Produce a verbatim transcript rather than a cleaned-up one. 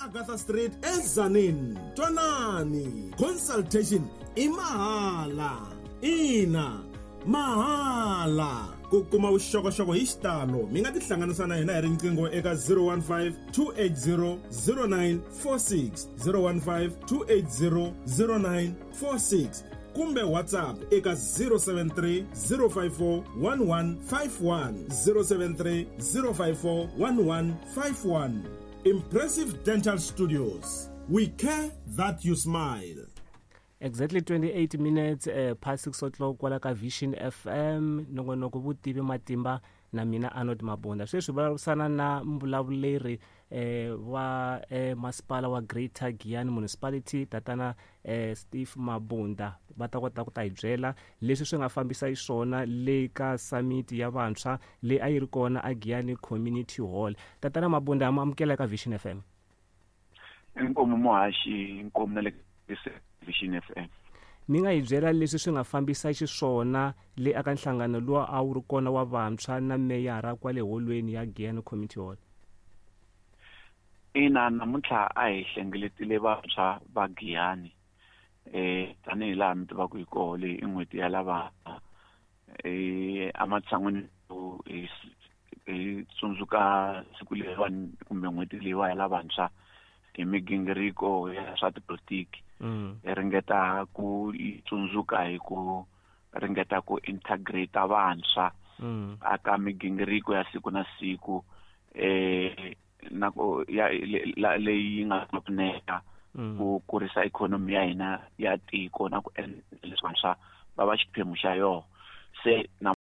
Agatha Street eZanin. Twanani, consultation i mahala. Ina, mahala. Ku kuma vuxokoxoko hi xitalo mi nga tihlanganisa na hina hi riqingho eka zero one five two eight zero zero nine four six, zero one five two eight zero zero nine four six kumbe WhatsApp eka zero seven three zero five four one one five one, zero seven three zero five four one one five one. Impressive Dental Studios. We care that you smile. Exactly twenty-eight minutes, uh, past six o'clock kwala ka Vision F M, nongonoko vutivi matimba na mina Arnold Mabunda. Sweswi vulavurisana na mbulavuleri, eh, wa, eh, masipala wa Greater Giyani Municipality, tatana, eh, Steve Mabunda. Va ta kota ku ta hi byela leswi swi nga fambisa xiswona le ka summit ya vantshwa leyi a yi ri kona a Giyani Community Hall. Tatana Mabunda, ma amukela ka Vision F M. Inkomu muhaxi, inkomu na le Vision F M. Mi nga hi byela leswi swi nga fambisa xiswona le aka nhlangano lowu a wu ri kona wa vantshwa na meyara kwale holweni ya Giyani Community Hall? Ina, namuntlha a hi hlengeletile vantshwa va Giyani. Eh, tanihi laha mi tivaka hi koho, leyi i n'hweti ya lava, eh, ematshan'wini yo hi hi tsundzuka siku leriwani kumbe n'hweti leyiwa ya lavantshwa hi migingiriko ya swa tipolitiki. Mm. Hi ringeta ku yi tsundzuka hi ku ringeta ku integrate vantshwa Mm. aka migingiriko ya siku na siku, eh, na ku ya le, la, leyi yi nga pfuneta Mm. ku kurisa ikhonomi ya hina ya tiko na ku endla leswi vantshwa va va xiphemu xa yona. Se na